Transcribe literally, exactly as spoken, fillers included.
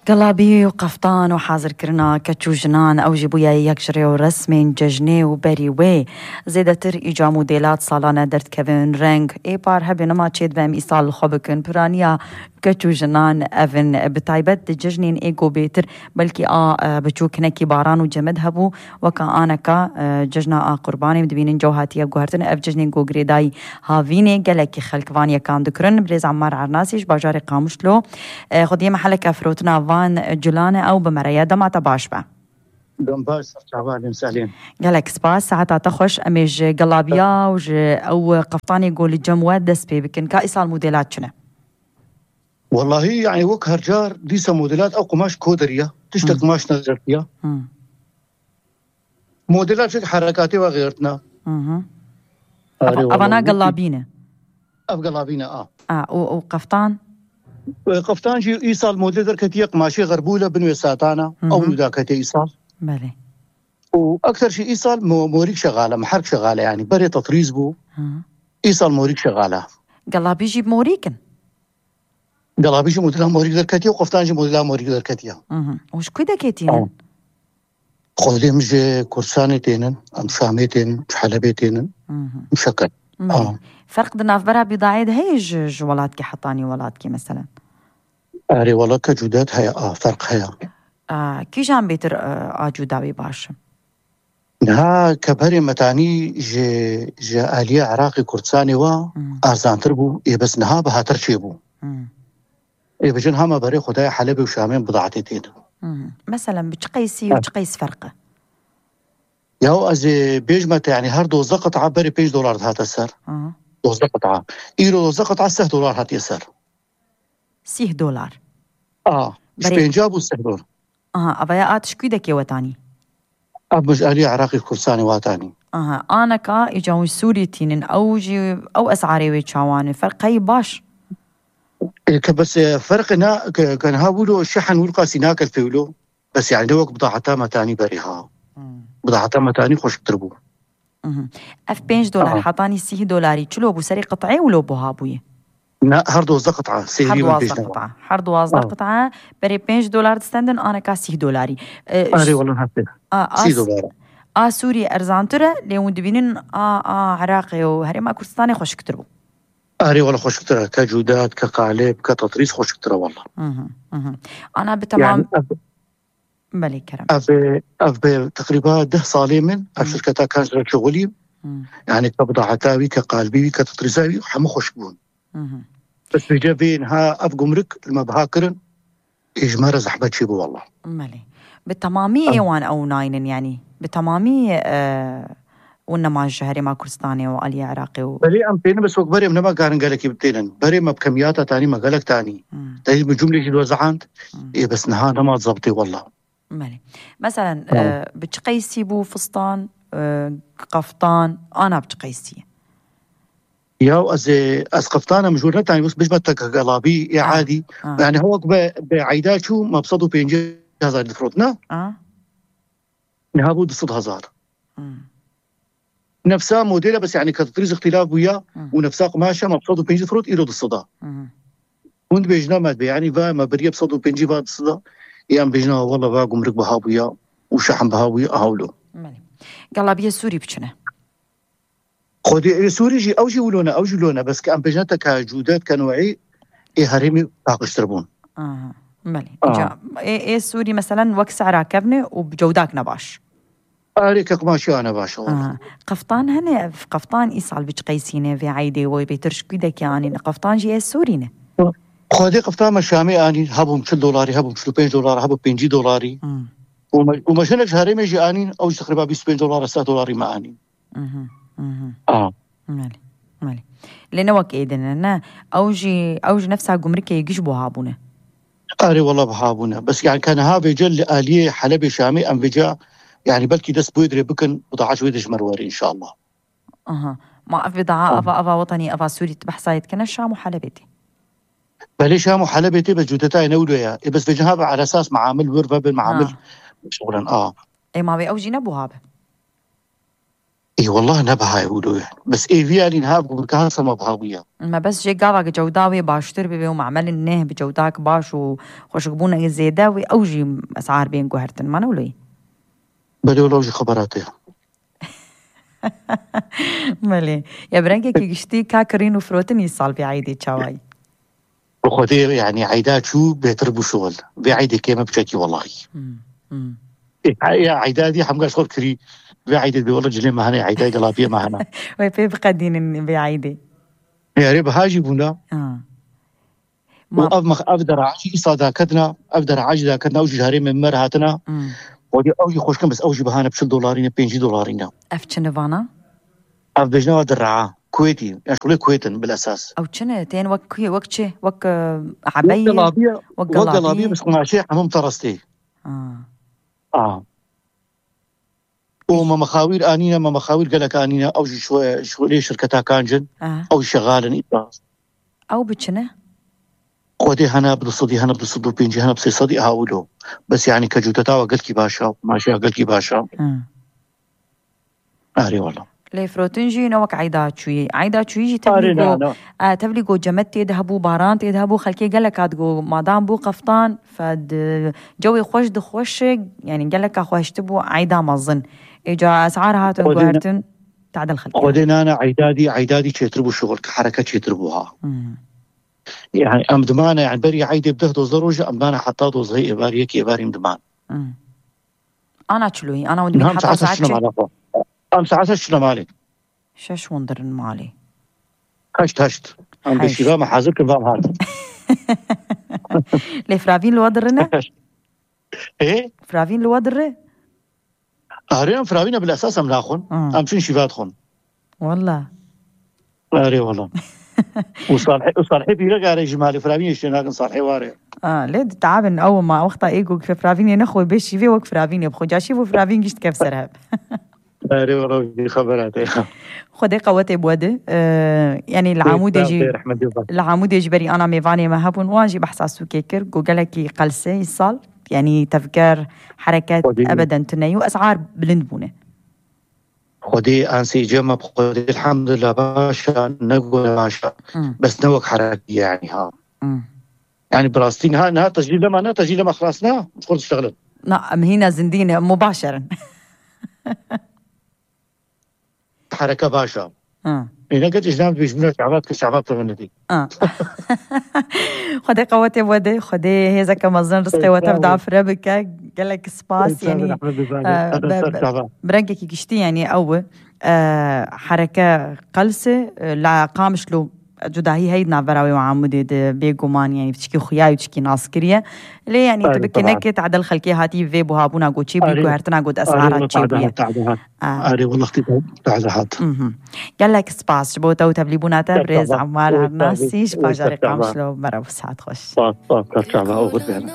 Gelabî û qeftan û hazirkirina keç û jinan, ew jî bûye yek ji rê û resmên cejnê û berî wê zêdetir îca modêlat salane derdikevin reng. Ê par hebê nema çêdibe em îsal li xwe bikin. Piraniya keç û jinan ev in. Bi taybet di cejnên ê ku bêtir belkî a, e, biçûk hinekî baran û cemid hebû, weka aneka, e, cejna a Qurbanê, em dibînin cew hatiye guhertin. Ev cejnên ku girêdayî havînê gelekî xelk van yekan dikirin. Birêz Ammar Ernasî ji bajarê Qamişlo, e, xwediyê meheleke firotina van culan e, ew bi me re ye. Dema te baş be. Dem baş, serçava Alem Salem. Gelek spas, saeta te xweş. Em ê ji gelabiya û ji ew qeftanê ku li cem we dest pê bikin. Ka îsal modêlat çi ne? Wellahî, yani wek her car dîsa modêlat ew qumaş kodiriya. Tiştek Hmm. qumaş nedirtiya. Hmm. Modêlat çek herekatê ve xêrtina. Hı hı. Arê, Ava-, wellahî, avana wekî gelabî ne? Ev gelabî ne, a. A, û, û qeftan? E, qeftan jî îsal modê derketiye, qumaşê xerbûle bin wê satana. Hı hı. Ew nû daketiye îsal. Belê. Û ekser jî îsal mo-, morîk şexale, meherk şexale, yani berê tetrîz bû. Hı. Îsal morîk şexale. Gelabî jî morîk in? Gelabî jî modela morîk derketiye û qeftan jî modela morîk derketiye. Hı hı. Û ji ku dekê tînin? Tamam. Xwedê min ji Kurdistanê tênin, em Şamê tênin, ji Helebê tênin, Hı hı. muşekkel. Belê. Tamam. Ferq di navbera bîdayê de heye ji, ji welatkî hetanî welatkî, meselen? Erê, wela ke cûdet heye, a, ferq heye. A, kîjan bêtir, e, a cûdawî baş e? Niha ke berê metanî ji, ji aliyê Iraqê Kurdistanê wa Hmm. arzantir bû, ê bes niha bihatir çêbû. Hmm. Ê bijin hema berê xwedayê Helebê û Şamê bidatê tê de. Hmm. Meselen bi çi qeysî û Ha. çi qeys ferq e? Ya ez ê bêjme te, yani her dozdeh qit'a berê pênc dolar dihate ser. Aha. Dozdeh qit'a. Îro dozdeh qit'a sih dolar hatiye ser. Sih dolar. A, ji Berê- pênca bû sih dolar. Aha, avaya a tişkî dekê wetanî? Ev min ji aliyê Iraqê Kurdistanê watanî. Aha, aneka îca hûn Sûrî tînin, ew jî, ew esarê wê çawan e? Ferqeyî baş. E, ke bes, e, ferqê na, ke, ke niha wilo şihen wilo qasî nakel pê wilo. Bes yani ne wek bidaheta metanî berê ha. Hmm. Bidaheta metanî xweşiktir bû. Mhm. Ev pênc dolar Aha. hetanî sih dolarî çilo bû serê qit'ê wilo buha bûye? Ne, her dozdeh qit'a, Her sêrî min pêş duwazdeh neba. qit'a. Her duwazdeh Aha. qit'a berê pênc dolar distendin, aneka sih dolarî. E, Erê, ş-, wela hafte. a, a Sî s-, dolar. a Sûrî erzantir e, lê hûn dibînin a, a Iraqê û Herêma Kurdistanê xweşiktir bû. Erê, wela xweşiktir e. Ke cûdet, ke qalib, ke tetrîz xweşiktir e wela. Mhm, mhm. Ana bi Yani temam ev Belê kerem. Ev, ev bi teqrîba deh salê min, ev Hı. şirketa Kanjra şixulî. Hı. Yani ke bidaheta wî, ke qalbî wî, ke tetrîza wî, hemû xweşik bûn. Hı hı. Bes vêce vê niha ev gumruk li me biha kirin, ê ji me re zehmet çêbû wela. Belê. Bi temamî Em. ê wan ew naynin yani. Bi temamî, e, û nema ji Herêma Kurdistanê û aliyê Iraqê û Belê em tênin bes wek berê em nema karin gelekî bitênin. Berê me bi kemiyata tanî me gelek tanî. Hmm. Teyî bi cumlê jî wezehand. Hmm. Ê bes niha nema zebtê wela. Belê. Meselen, Tamam. e, bi çi qeysî bû fistan, e, qeftan, ana bi çi qeysî ye? Ya ez ê, ez qeftan em jûr netanî, bes bijme te gelabî, ê Ha, adî. ha. Yani hewek be, be eyda çû, me bi sed û pêncî hezar difrot, ne? Ha. Niha bû du sed hezar. Hmm. Nefsa modela bes yani ke tetrîz îxtîlaf bûya Hmm. û nefsa qumaşa me bi sed û pêncî difrot, îro du sed a. Hmm. Hûn dibêjina me dibe, yani va me beriye bi sed û pêncî va du sed a. Yan bêjina wela va gumruk biha bûya û şehm biha bûya, aha wilo. Belê. Gelabiye Sûrî biçine. Xwedê ê Sûrî jî, ew jî wilo ne, ew jî wilo ne. Bes ke em bêjin te ke cûdet, ke newî ê herêmî paqijtir bûn. Aha, belê. Aha. Îca ê, ê Sûrî, meselen, wek sehra kevne û bi cewdak ne baş. Arê ke qumaşiya ne baş e, wela. Aha. Qeftan hene, ev qeftan îsal bi çi qeysî ne vê eydê we bêtir ji kû dekê anîn? Qeftan jî ê Sûrî ne. Xwedê qeftan me Şamê anîn, hebûn çil dolarî, hebûn çil û pênc dolar, hebûn pêncî dolarî. Hmm. Û me, û me jinek ji herêmê jî anîn, ew jî teqrîba bîst û pênc dolar, sed dolarî me anîn. Mhm, mhm. A. Belê, belê. Lê ne wek êdin e, ne? Ew jî, ew ji nefsa gumrikê giş buha bûne. Erê, wela buha bûne. Bes, yani, ke niha vêce li aliyê Helebê Şamê em vêce, yani, belkî dest bi wê dirê bikin, bidaha ji wê de ji me re were, înşallah. Aha. Ma ev bidaha, A. ava, ava wetanî, ava Sûrî tu behsa yê dikine Şam û Helebê tê? Belê, Şam û Helebê tê, bes cûdetayê ne wilo ye. Ê, bes vêce ha be ala esas meamil wir vebin, meamil Ha. şixulen. A. Ê, ma wê ew jî nebuha be? Ê, wallah ne biha ye wilo ye. Bes ê vî alî niha bi ka sema biha bûye. Me bes jê gava ki cewda wê baştir bibe û mamelin neh bi cewdak baş û xweşikbûneke zêde wê ew jî esar bên guhertin. Ma ne wilo ye? Belê wilo jî xebera te ye. Belê. Ya bi rengekî giştî ka kirîn û firotin îsal vê eydê çawa ye? Bi Xwedê, yani, eyda çû bêtir bû şixul. Vê eydê kêm e biçekî, wellahî. Hmm, hmm. Ê, ya eyda dî hemgaş xwe kirî. Vê eydê dê wele cilê me hene, eyda gelapiyê me hene. Wê pê biqedînin vê eydê. Yarê biha jî bûna. Ha. Û Ma ev mex-, ev deraha jî îsa daketina, ev deraha jî daketina, ew jî ji herêmê me re hatine. Hmm. Xwedê ew jî xweşkin, bes ew jî bihane bi çil dolarî ne, pêncî dolarî ne. Ev çi ne vana? Ev bêjne wa deraha. Kuwêtî, ya şulê Kuwêt in bil esas. Ew çi ne? Tên wek kuye, wek çi? Wek, e, Wek ebeyê? gelabiye, Wek wek gelabiye, gelabiye. Bes qumaşê hemû terestê. Ha. A. Û me mexawîr anîne, me mexawîr gelek anîne, ew jî şwe-, şulê şirketa kancin, Aha. ew şexalin îta. Ew bi çi ne? Xwedê hene bi du sedî, hene bi du sed û pêncî, hene bi sê sedî, aha wilo. Bes yani kecûteta we gelkî baş e, qumaşê gelkî baş e. Ha. Arê wala. Lê firotin jî ne wek eyda çûyî. Eyda çûyî jî Arê tevlî na, go, na. e, tevlî go cemet tê de hebû, baran tê de hebû, xelkê gelek hat go madan bû qeftan, fed, e, cewê xweş di xweş, yani geleka xweşti bû eyda mezin. Êca esar hatin Xwedê ne- guhertin, tadil xelkê. Xwedê nane eyda dî, eyda dî çêtir bû şixul, ki hereke çêtir bû ha. Hmm. Yani em dimane, yani berî eydê bi deh dozdeh roj em dimane heta dozdeh êvar, yek êvarî em diman. Hmm. Ana çiloyî, ana wendî Niha em heta saet saet şeş çi? Em saet şeş malê. Şeş windirin malê. Heşt, heşt. Em Heşt. beşîva me hazir kin vam hat. Lê firavîn li we dirine? Heşt. Ê? Firavîn li we dire? Arê em firavîne bil esas em naxwin. Hmm. Em çin şîva dixwin. Walla. Arê wala. Û Salihê, û Salihê pîrek arê ji malê firavînê ştê nakin Salihê ware. A, lê ditabin ew ma wexta ê ku firavînê nexwe bê şîvê wek firavînê bixwe. Ca şîv û firavîn gişt kev ser hev. Arê wala, vî xebera te. Xwedê qewetê bi we de. E, yani li Amûdê jî, li Amûdê jî berî ana mêvanê me hebûn, wan jî behsa sûkê kir, ku gelekî qelse îsal, yani tevger, hereket Xwedê. ebeden tune ye û esar bilind bûne. Xwedê ansê cema bi Xwedê elhamdulillah baş e, ne gore baş e. Hmm. Bes ne wek herekî yani ha. Hmm. Yani bi rastî niha, niha tecrî lema, ne tecrî lema xlas ne, xwe diştexilin. Na, em hîna zindî ne, mubaşer in. Hereke baş e. Ha. Ê, ne geç îşlem dibêjmîne şebat ki şebat tevin nedî. Ha. Xwedê qewetê we de, Xwedê hêzeke mezin rizqê we tev dafire bike. Gelek spas, yani, e, be-, be-, bi rengekî giştî, yani, ew, e, hereke qelse, e, la Qamişlo cudahî heye di navbera wê û Amûdê de, bêguman, yani, piçikî xuya ye, piçikî nas kiriye. Lê, yani, tu Arê, bikî tamam. neke tadil xelkê hatî vê buhabûna goçî bû, Arê. guhertina got Arê, esara wala çê bûye. Tade hat. A. Arê, wala xtî tade hat. Mhm. Gelek spas ji bo te û tevlîbûna te, Çok birêz sağ ol. Emmar Çok sağ ol. Hernasî, ji Çok bajarê sağ ol. Qamişlo, merhaba, saet xweş. Spas, spas, çok sağ ol. Oxir bene.